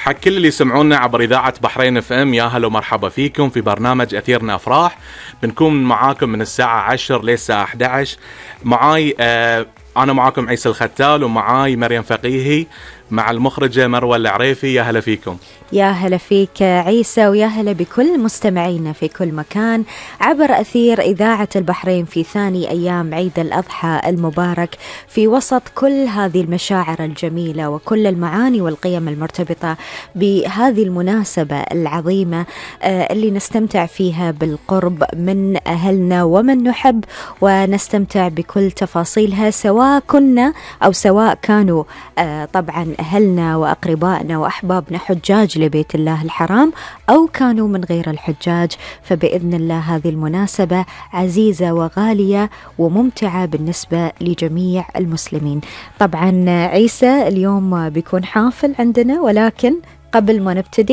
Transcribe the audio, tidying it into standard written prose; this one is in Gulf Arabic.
حق كل اللي يسمعونا عبر إذاعة بحرين اف ام، يا هلا ومرحبا فيكم في برنامج أثيرنا أفراح. بنكون معاكم من الساعة 10 للساعة 11. معاي أنا معاكم عيسى الختال، ومعاي مريم فقيهي مع المخرجة مروة العريفي. يا هلا فيكم. يا هلا فيك عيسى، ويا هلا بكل مستمعينا في كل مكان عبر أثير إذاعة البحرين في ثاني أيام عيد الأضحى المبارك، في وسط كل هذه المشاعر الجميلة وكل المعاني والقيم المرتبطة بهذه المناسبة العظيمة اللي نستمتع فيها بالقرب من أهلنا ومن نحب، ونستمتع بكل تفاصيلها، سواء كنا أو سواء كانوا طبعا أهلنا وأقربائنا وأحبابنا حجاج لبيت الله الحرام أو كانوا من غير الحجاج. فبإذن الله هذه المناسبة عزيزة وغالية وممتعة بالنسبة لجميع المسلمين. طبعا عيسى اليوم بيكون حافل عندنا، ولكن قبل ما نبتدي